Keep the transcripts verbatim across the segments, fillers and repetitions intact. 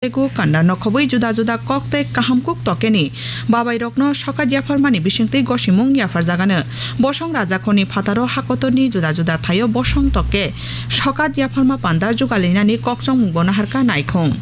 Tei kuk kanda nokhobwi juda juda kok tei kaham kuk tokeni babairokno sokat yapharmani bisingtwi gosimung yapharjagano. Bosong rajakhorni phataro hakotorni juda juda thaio bosong tokke sokat yapharma panda jugalinani kokchongmungbo naharkha naikhung.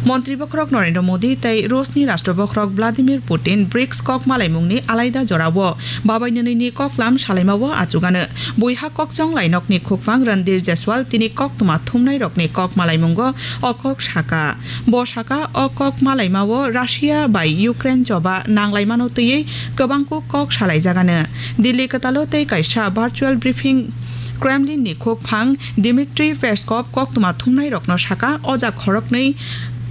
Montri bokhorok Narendra Modi tei Rusni Rashtra bokhorok Vladimir Putin brics kok malaimungni alaida jorao babai nwnwini koklam salaimao achugano. Buiha kokchong lainokni khukphang Randir Jaiswal tini koktwma thumnairokni kok malaimungo o kok saka. Bo saka, o kok malaimao Russia bai Ukraine choba nanglaimano twiwi kwbangkuk kok salaijagano. Delhi kwtalo tei kaisa virtual briefing Kremlinni khukphang Dmitry Peskov koktwma thumnairokno saka, o jak khoroknwi,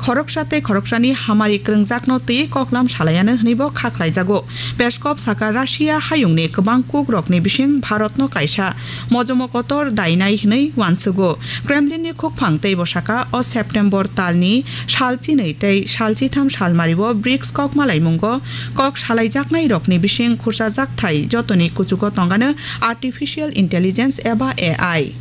khoroksa tei khoroksani hamari kwrwngjakno twiwi koklam salaiano hwnwibo kha khlaijago. Peskov saka, Russia hayungni kwbang kukrokni bising Bharatno kaisa mojomo kotor dainai hwnwi uansugo. Kremlinni khukphang teibo saka, o September talni sal chinwi tei sal chitham salmario brics kok malaimungo kok salaijaknairokni bising khursa jakthai jotoni kuchugo tongano artificial intelligence eba A I.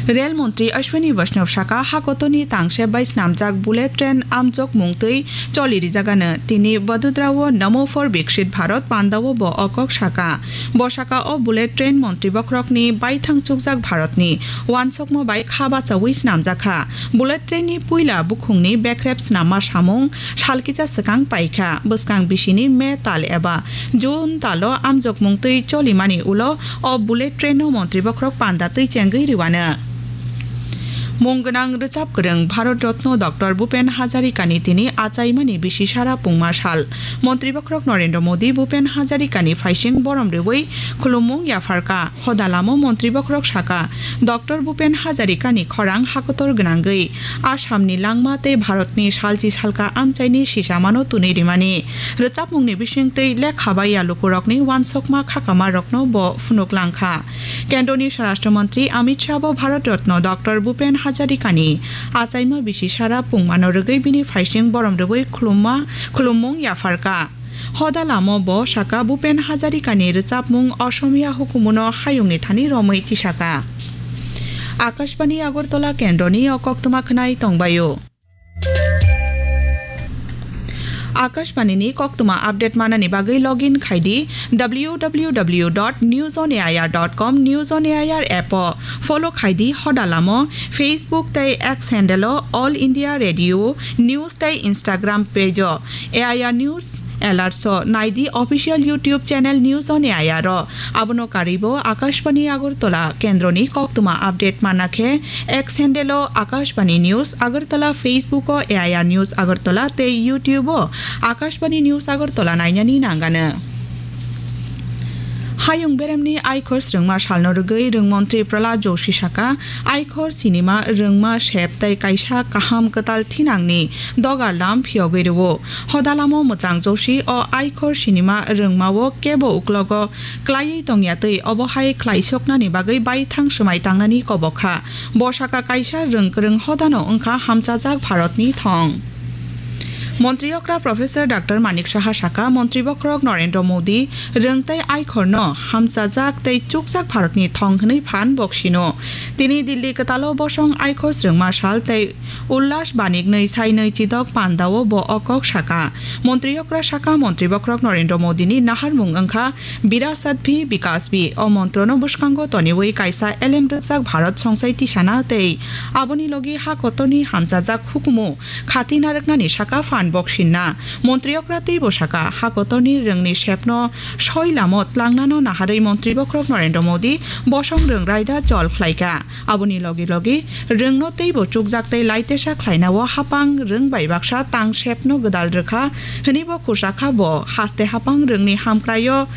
Rel montri Ashwini Vaishnaw saka, hakotorni tangsep bai snamjak bullet train amjokmung twi choli rijagano. Tini Vadodara-o Namo for Viksit Bharat pandao bo o kok saka. Bo saka, o bullet train montri bokhorokni baithang chukjak Bharatni uansukma bai kha bachaui snamjakha. Bullet trainni puila bukhungni bekrep snamma samung salkisa swkang paikha. Bwskang bisini May tal eba June talo amjokmung twi cholimani ulo o bullet traino montri bokhorok panda twi chengwi rwano. Mung gwnang rwchap kwrwng Bharat Ratna Doctor Bhupen Hazarikani tini achaimani bisi sara pungma sal. Montri bokhorok Narendra Modi Bhupen Hazarikani phaising borom rwui khulummung yapharkha. Hoda lamo montri bokhorok saka, Doctor Bhupen Hazarikani khorang hakotor gwnangwi Assamni langma tei Bharatni salchi salka amchaini sisamano twnwi rimani. Rwchapmungni bisingtwi lekha bai yalukurokni uansukma khakamarokno bo phunuk langkha. Kendroni Swarashtra Montri Amit Shah bo Bharat Ratna Doctor Bhupen Hazarikani achaima bisi sara pungmano rwgwi bini phaising borom rwui khulumma, khulummung yapharkha. Hoda lamo bo saka, Bhupen Hazarikani rwchapmung Asamiya hukumuno hayungni thani romwi tisaka. Akashbani Agartala kendroni o koktwma khwnai tongbaio. Akashbanini koktwma update manani bagwi login khaidi W W W dot news on A I R dot com, News on A I R app o follow khaidi, hoda lamo Facebook tei X handle o All India Radio News tei Instagram page o A I R News Alerts o naidi, official YouTube channel News on A I R o. Abono karwibo Akashbani Agartala kendroni koktwma update manna khe X handle o Akashbani News Agartala, Facebook o A I R News Agartala tei YouTube o Akashbani News Agartala nainani nangano. Hayung beremni aikhor swrwngma salno rwgwi rwngmontri Prahlad Joshi saka, aikhor sinima rwngma sep tei kaisa kaham kwtal thinangni dogar lam phiyogwi rwo. Hodalamo mwchang Joshi o aikhor sinima rwngmao kebo uklogo klaiwi tongya twi obo hai khlaisoknani bagwi baithang swmai tangnani kobok kha. Bo saka kaisa rwng kwrwng hodano wngkha hamchajak Bharatni thong. Montri okra Professor Doctor Manik Saha saka, Montri bokhorok Narendra Modi rwng tei aikhorno hamchajak tei chukjak Bharatni thong hwnwi phan boksino. Tini Delhi kwtalo bosong aikhor swrwngma sal tei Ullas Banik nwi sai nwi chidok pandao bo o kok saka. Montri okra saka, Montri bokhorok Narendra Modini naharmung wngkha Virasat Bhi Vikas Bhi. O montrono bwskango toniwi kaisa elem rwkjak Bharat songsai tisana tei aboni logi ha kotorni hamchajak hukumu khati narwknani saka phan boksinna. Montri okra teibo saka, ha kotorni rwngni sepno soi lamo tlangnano naharwi Montri bokhorok Narendra Modi bosong rwng raida chol khlaikha. Aboni logi logi rwngno teibo chukjak tei laitesa khlainao hapang rwng bai baksa tang sepno gwdal rwkha hwnwi bo khursa kha. Bo haste hapang rwngni hamkraio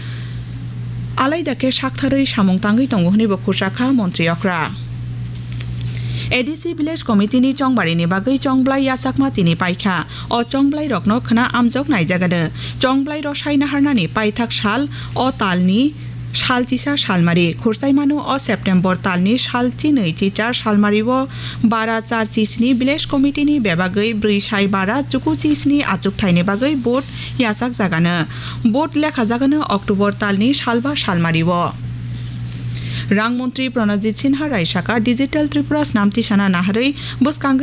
alaida khe saktharwi samung tangwi tongo hwnwi bo khursa kha Montri okra. A D C Village Committee ni chongbarini bagwi chongblai yachakma tini paikha. O chongblai rokno khwna amjok naijagano. Chongblai rosai naharnani paithak sal o talni sal chisa salmari. Khursaimano o September talni sal chinwi chichar salmario bara char chisni Village Committee ni bebagwi brwi sai bara chuku chisni achukthaini bagwi vote yachakjagano. Vote lekhajagano October talni salba salmario. Rang montri Pranajit Sinha Rai saka Digital Tripura snam tisana naharwi bwskangwi